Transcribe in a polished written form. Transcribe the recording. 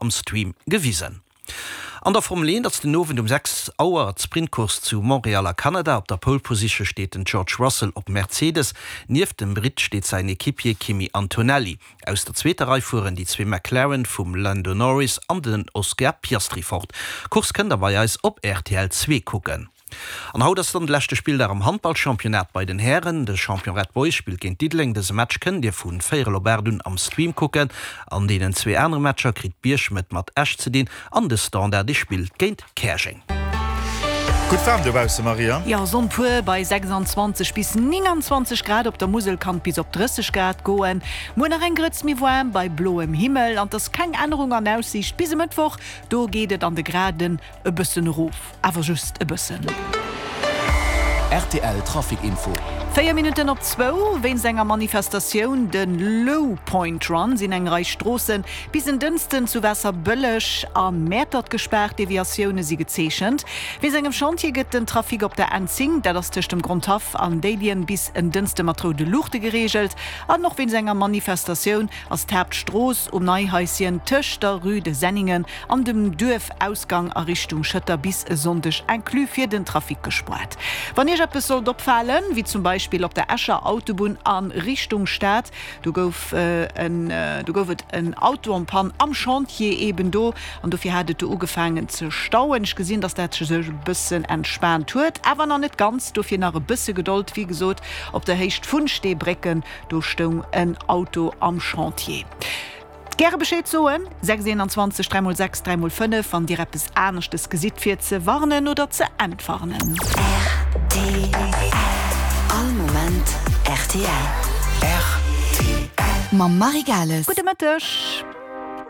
am Stream gewisen. An der Formel 1 ass den Owend um 6 Auer d'Sprintcourse zu Montréal a Kanada. Op der Pole Position steet den George Russell op Mercedes. Nieft dem Britt steet säin Equipier Kimi Antonelli. Aus der zweeter Rei fueren déi zwee McLaren vum Lando Norris an den Oscar Piastri fort. D'Course kënnt der bei eis op rtl 2 kucken. An haut ass dann de leschte Spilldag am Handballchampionnat bei den Hären. De Champion Red Boys spillt géint Diddeleng. Dëse Match kënnt Dir vu véierel op 8 un am Stream kucken. An deenen zwee anere Matcher kritt Bierchem et mat Esch ze dinn an de Standard dee spillt géint Käerjeng. Gutt waarm dobausse, Maria. Jo, Sonn pur bei 26 bis 29 Grad, op der Musel kann et bis op 30 Grad goen. Muer nach eng Grëtz méi waarm bei bloem Himmel an 't ass keng Ännerung an Aussiicht bis e Mëttwoch, do geet et an de Graden E bëssen erof, awer just e bëssen. Rtl Trafic Info. 4 Minutten op zwou. Wéinst enger Manifestatioun, de Low Point Run, sinn eng Rei Stroosse bis en Dënsten zu Waasserbëlleg a Mäertert gespaart. Deviatioune si gezeechent. Wéinst engem Chantier gëtt den Trafic op der N10, dat ass tëscht dem Grondhaff an Déiljen, bis en Dënste mat roude Luuchte gereegelt. An och wéinst enger Manifestatioun ass d'Haaptstrooss um Neihaischen tëscht der Rue de Senningen An dem Duerfausgang a Richtung Schëtter bis e Sonndeg inclus fir den Trafic gespoart. Wann Iech eppes sollt opfalen, wéi zum Beispill op der Escher Autobunn a Richtung Stad, do gouf en do gouf et en Auto en panne am Chantier eben do an dofir hat et do ugefaangen ze stauen. Ech gesinn, dass dat sech e bëssen entspaant huet, awer nach net ganz, dofir nach e bësse Gedold. Wéi gesot, op der Héicht vun Steebrécken, do stoung en Auto am Chantier. Gäre Bescheed soen, 6 21 3 x 6 3 x 5, wann Dir eppes aneschtes gesitt fir ze warnen oder ze entwarnen. Rtl, All Moment rtl. Rtl. Mam Marie Gales. Gudde Mëtteg.